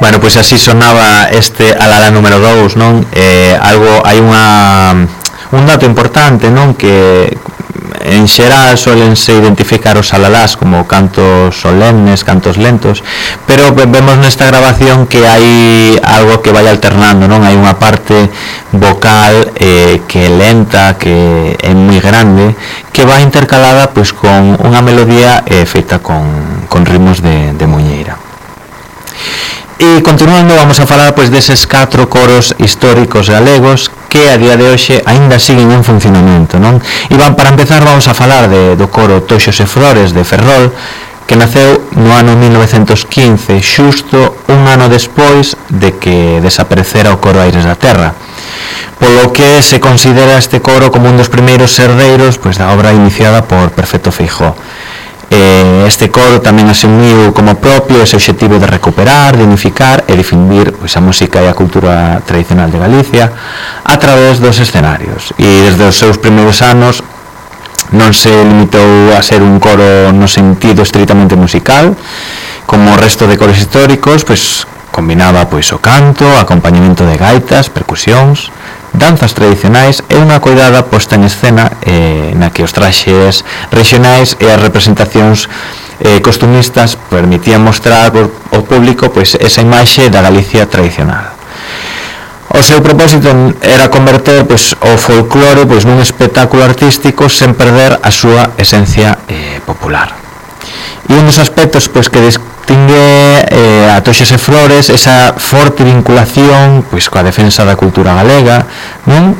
Bueno, pois así sonaba este Alalá número 2, non? Hai un dato importante, non? Que en xeral solense identificar os alalás como cantos solemnes, cantos lentos, pero vemos nesta grabación que hai algo que vai alternando, non? Hai unha parte vocal que é lenta, que é moi grande, que vai intercalada pois con unha melodía feita con ritmos de muñeira. E continuando, vamos a falar pois deses 4 coros históricos galegos que a día de hoxe aínda siguen en funcionamento, non? E para empezar vamos a falar do coro Toxos e Flores de Ferrol, que naceu no ano 1915, xusto un ano despois de que desaparecera o coro Aires da Terra, polo que se considera este coro como un dos primeiros herdeiros pois da obra iniciada por Perfecto Feijóo. Este coro tamén asumiu como propio ese obxectivo de recuperar, de unificar e difundir pois, a música e a cultura tradicional de Galicia a través dos escenarios, e desde os seus primeiros anos non se limitou a ser un coro no sentido estritamente musical, como o resto de coros históricos, pois combinaba pois o canto, acompañamento de gaitas, percusións, danzas tradicionais e unha coidada posta en escena na que os traxes regionais e as representacións costumistas permitían mostrar ao público pois esa imaxe da Galicia tradicional. O seu propósito era converter pois o folclore pois nun espectáculo artístico sen perder a súa esencia popular. E un dos aspectos pois que distingue a Toxos e Flores esa forte vinculación pois coa defensa da cultura galega, non?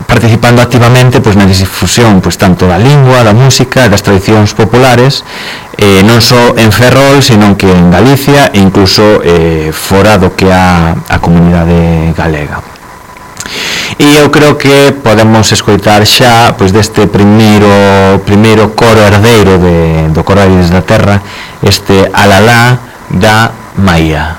Participando activamente pois na difusión pois tanto da lingua, da música, das tradicións populares, non só en Ferrol, senón que en Galicia e incluso fora do que a comunidade galega. E eu creo que podemos escoitar xa pois deste primeiro coro herdeiro do coro Aires da Terra, este Alalá da Maía.